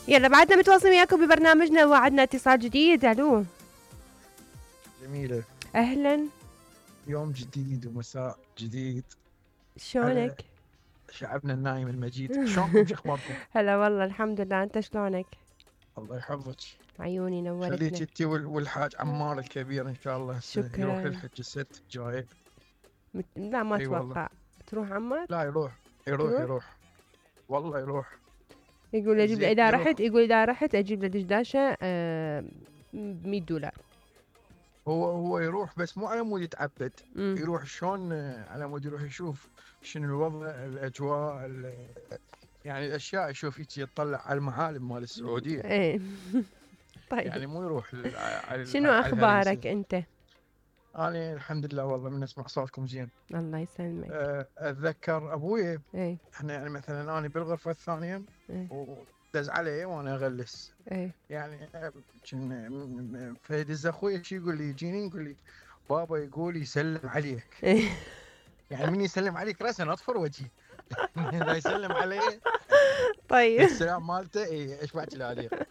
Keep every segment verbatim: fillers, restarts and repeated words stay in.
يلا بعدنا متواصلين وياكم ببرنامجنا وعدنا اتصال جديد. الو جميلة. اهلا. يوم جديد ومساء جديد. شلونك؟ شعبنا النايم المجيد، شلونكم؟ شو اخباركم؟ هلا والله الحمد لله، انت شلونك؟ الله يحفظك. عيوني نورتنا. خليك انت والحاج عمار الكبير ان شاء الله شكرا. يروح للحج السبت الجاي. مت... لا ما اي اتوقع. والله. تروح عمار؟ لا يروح يروح يروح, يروح. والله يروح. يقول اجيب له زين اذا يروح. رحت، يقول اذا رحت اجيب له دشداشه آه مية دولار. هو هو يروح بس مو على مود يتعبد. مم. يروح شلون على مود يروح يشوف شنو الوضع، الاجواء، ال- يعني الاشياء، يشوف يجي يطلع على المعالم مال السعوديه. ايه طيب يعني مو يروح لل- على شنو على اخبارك الهريسة. انت؟ انا الحمد لله والله من اسمع صوتكم زين. الله يسلمك. أه، اتذكر ابوي، ايه احنا يعني مثلا انا بالغرفه الثانيه ايه ودز علي وانا اغلس. ايه يعني أه، كن م- م- فيدز اخوي شي يقول لي، يجيني يقول لي بابا يقول يسلم عليك. ايه يعني من يسلم عليك راسا اطفر وجهي. اذا يسلم علي طيب السلام مالته اي اشبع العليق.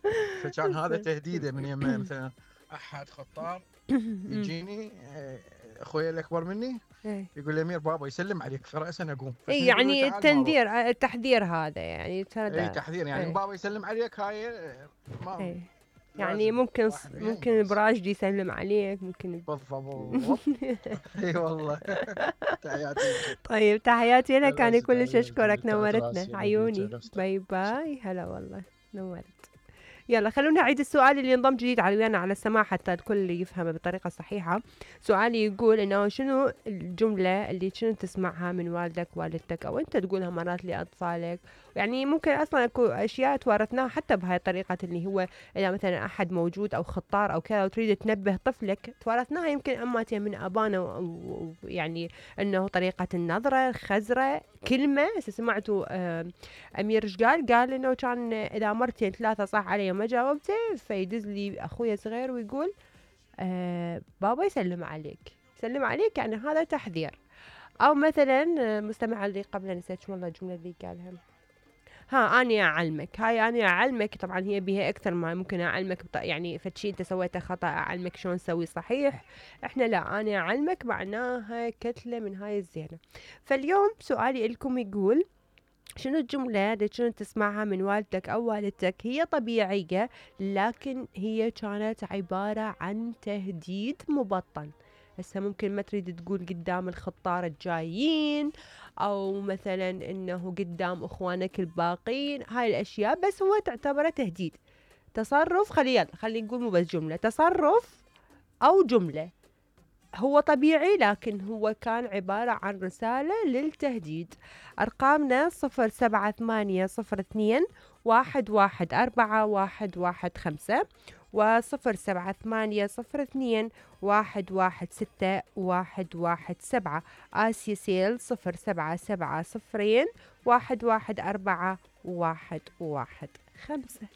فكان هذا تهديده من يمه مثلا احد خطار يجيني أه، اخوي الاكبر مني ايه يقول لي امير بابا يسلم عليك فراسا اقوم. بس اي من يقول له يعني تعال ما أروح. التنذير التحذير هذا يعني ترى اي ده- تحذير يعني ايه بابا يسلم عليك هاي ما ايه يعني لازم ممكن واحد ممكن ينقص. البراشدي يسلم عليك، ممكن بالضبط. اي والله. تحياتي لك. طيب تحياتي لك، الله انا كلش يسلمك. اشكرك، تعبت نورتنا راسي أنا عيوني. بيك، نفسك. باي باي. هلا والله نورت. يلا خلونا نعيد السؤال اللي انضم جديد على ويانا على السماع حتى الكل يفهمه بطريقة صحيحة. سؤالي يقول انه شنو الجملة اللي شنو تسمعها من والدك والدتك او انت تقولها مرات لاطفالك، يعني ممكن اصلا اكو اشياء توارثناها حتى بهاي الطريقة اللي هو اذا مثلا احد موجود او خطار او كذا وتريد تنبه طفلك، توارثناها يمكن اماتي من ابانا و- و- يعني انه طريقة النظرة، الخزرة، كلمة. هسه سمعتوا آه امير ايش قال؟ قال انه كان اذا مرتين ثلاثة صح علي وما جاوبته فيدز لي اخويا صغير ويقول آه بابا يسلم عليك. يسلم عليك يعني هذا تحذير. او مثلا آه، مستمع اللي قبل نسيت شو والله الجملة اللي قالها. ها اني اعلمك، هاي اني اعلمك طبعا هي بها اكثر ما ممكن اعلمك بط... يعني فشي انت سويته خطا اعلمك شلون تسوي صحيح. احنا لا، اني اعلمك معناها كتله من هاي الزينه. فاليوم سؤالي لكم يقول شنو الجملة اللي كنت تسمعها من والدك أو والدتك هي طبيعية لكن هي كانت عبارة عن تهديد مبطن. هسه ممكن ما تريد تقول قدام الخطار الجايين أو مثلا إنه قدام إخوانك الباقين، هاي الأشياء بس هو تعتبره تهديد. تصرف، خلي يلا خلي نقول مو بس جملة، تصرف أو جملة هو طبيعي لكن هو كان عبارة عن رسالة للتهديد. أرقامنا صفر سبعة ثمانية صفر اثنين واحد واحد أربعة واحد واحد خمسة وصفر سبعة ثمانية صفر اثنين واحد واحد ستة واحد واحد سبعة. آسيا سيل صفر سبعة سبعة صفرين واحد واحد أربعة واحد واحد خمسة.